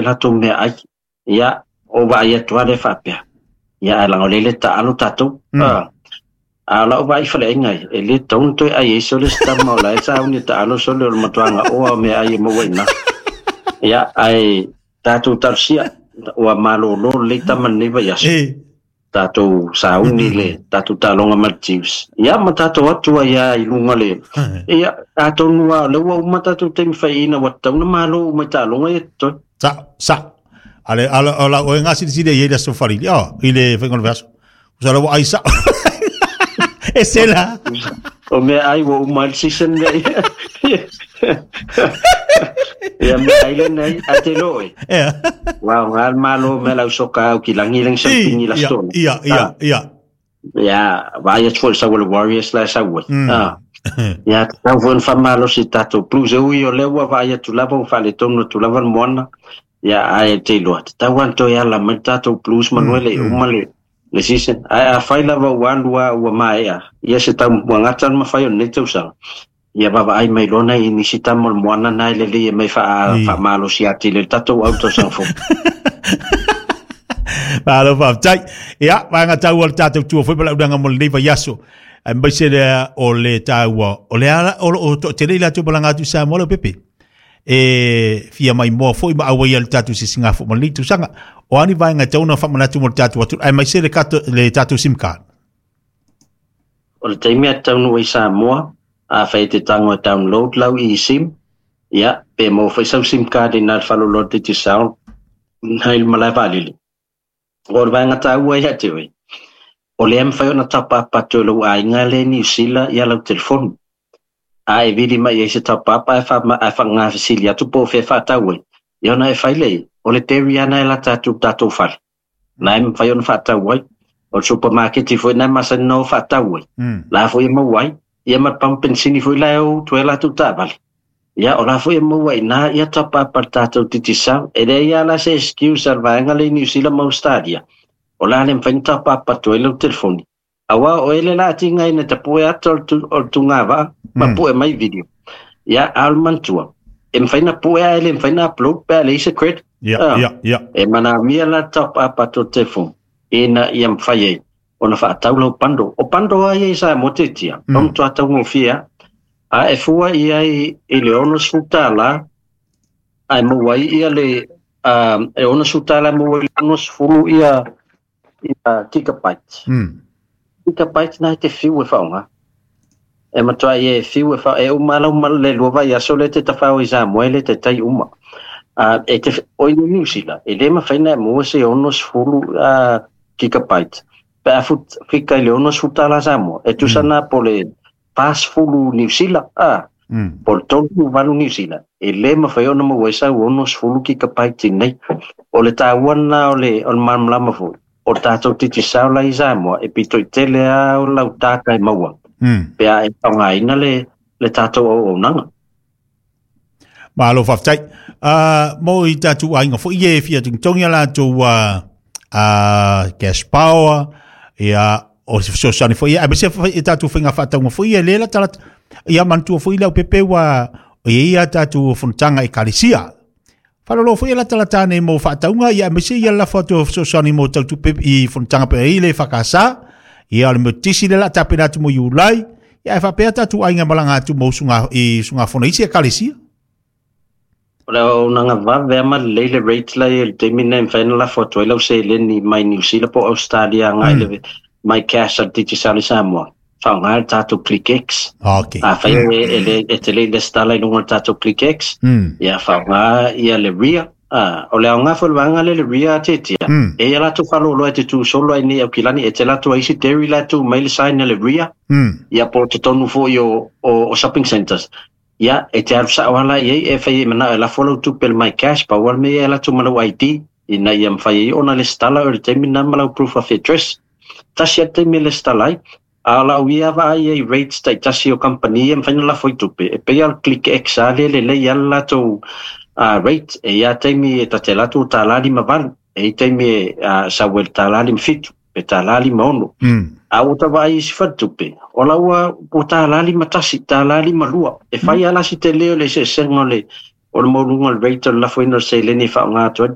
latou meaai. Ia, o vaai atu lava lea faapea, ia ae leaga o lea e le taalo tatou. A o lau vaai i faleaiga ia, e le tatau ona toe ai ai sole se tama o la e sauni e taalo sole o le matua gaoa o meaai e maua i ina. Ia, ae tatou talosia, ua malolo lelei tama lenei vaiaso. Tatou sauni le tatou taaloga ma le Chiefs. Ia ma tatou atu ai lava i luga le. Ia, atonu lava o lea ua uma tatou taimi faiaina ua tatau ona malo uma i taaloga ia totoe. Sa, sa. Ale, ale, o lau oe gasilisili ai i le aso Falili, oh, i le faiga o le vaiaso. Usa lau ai sao. E se la. O mea ai ua uma ai le season lea. Ia mea ai lenei, ae te lo e. Ea. Ua aoga le malo me lau soka au ki langi lengi sau pingi la stona. Ia, ia, ia. Ia, vaai atu foi i le sau a le Warriors la e sau ai. Ah. Ia, tatau foi ona faamalosi i tatou Blues. E ui o lea ua vaai atu lava ua faaletonu atu lava le moana. Ia, ae te iloa, tatau lava ona toe ala mai le tatou Blues manu e le i uma le le season. Ae afai lava ua alu lava ua maea, ia se tau ua gata le mafai o lenei tausaga, ia vaavaai mai loa nai nisi tama o le moana na e lelei e mai faamalosi atili ai le tatou au tausaga fou. Malo faafetai. Ia, vaega taua o le tatou tua foi ma lau uiga mo lenei vaiaso. Aemaise lea o le taua, o le ala o lo o toatele i latou malaga atu i Samoa Leaupepe. E fia maimoa foi ma auai ai le tatou sisigafo ma lenei tausaga. O a ni vaega e tatau ona faamanatu mo le tatou atunuu, aemaise le, le tatou SIM card. O le taimi a te taunuu ai i Samoa, afai e te tago e download lau eSIM, ia, pe maua foi sau SIM card i ina i le faleoloa o le Digicel, nai le malae vaalele. O le vaega taua ia te oe, o lea e mafai ona top up atu e lou aiga lea i Niu Sila ia lau telefoni. A e vili mai ai se top up ae faagafesili atu po o fea e faatau ai, ia ona e fai lea i ai, o le dairy lava lena e lata atu i le tatou fale. Na e mafai ona faatau ai. O le supamaketi foi lena e masani ona o faatau ai. La foi e maua ai. Ia ma le pamu penisini foi la e o utu ai latou taavale. Ia, o la foi e maua i ina ia top up a le tatou Digicel. E leai lava la se excuse a le vaega lea i Niu Sila ma Ausetalia, o le a le mafai ona top up atu ai lau telefoni. Aua o ele la atiga ina tapue ata o le tugavaa ma pue mai video. Ia, a o le manatua, e mafai ona pue ae le mafai ona upload pe a leai se credit. Ia, ia, ia. E manaomia la le top up atu o le telefoni ina ia mafai ai ona faatau lau bundle. O bundle lava ia i Samoa tetia, o matua taugofie lava. A e fua i ai i le $60 ae maua ai ia le e $60 e maua ai le 60 ia ia gigabytes. Gigabytes na e te fiu e faaaoga. E matua ia e fiu e fa e uma lau ma le lua vaiaso lea e te tafao i Samoa e le taitai uma. E te o i Niu Sila, e le mafai ona e maua se 60 gigabytes pe a fika i le $60 Samoa. E tusa na po o le 40 Niu Sila, po o le 38 Niu Sila, e le mafai ona maua ai sau 60 gigabytes i inei. O le taua lena o le malamalama foi, o le tatou Digicel la i Samoa, e pito i tele lava o lau data e maua, pe a e faaaogaina le tatou auaunaga. Malo faafetai. Mo i tatou aiga foi ia e fia togitogi a latou cash power, ia, o se fesoasoani foi ia, aemaise foi i tatou faiga faatauga foi ia lea latalata. Ia manatua foi Leaupepe ua o i ai a tatou fonotaga ekalesia. Faalolo foi ia latalata nei mo faatauga, ia aemaise ia lafo atu o fesoasoani mo tautupe i fonotaga pe ai le EFKS, ia o le Metotisi lea o le a tapena atu mo Iulai, ia ae faapea tatou aiga malaga atu mo usuga i usugafono i isi ekalesia. O le auaunaga vave lava ma lelei le rate la e i ai i le taimi lenei e mafai ona lafo atu ai lau seleni mai Niu Sila po o Ausetalia agai i le My Cash a le Digicel i Samoa, faaaoga le tatou ClickX. Afai e le e te le i resitala i luga o le tatou ClickX, ia faaaoga ia le RIA. O le aoga foi o le vaega lea le RIA a Tetia, e i ai a latou faleoloa e te tu solo ai nei i Aukilani, e tele atu ai isi dairy la e tu mai le sign a le RIA, ia po o totonu foi o shopping centres. Ia, e te alu sao lava la i ai, e fai e manao e lafo lau tupe i le My Cash, pau lava le mea ia e alu atu ma lau ID, ina ia mafai ai ona resitala oe i le taimi lena ma lau proof of address. Tasi lava le taimi e resitala ai, a o lau ia vaai i ai i rates taitasi o kamupani ia e mafai ona lafo ai tupe, e pei lava o le ClickX lava lea e lelei lava le latou rate, e i ai lava taimi e ta te alu atu ua $1.58, e i ai taimi e sau ai i le $1.57. pe $1.56. A ua ta vaai i isi faletupe, o la ua ua $1.51, $1.52. E fai lava la si tele o le eseesega o le o le maualuga o le rate o le lafoina o le seleni e faaaoga atu ai.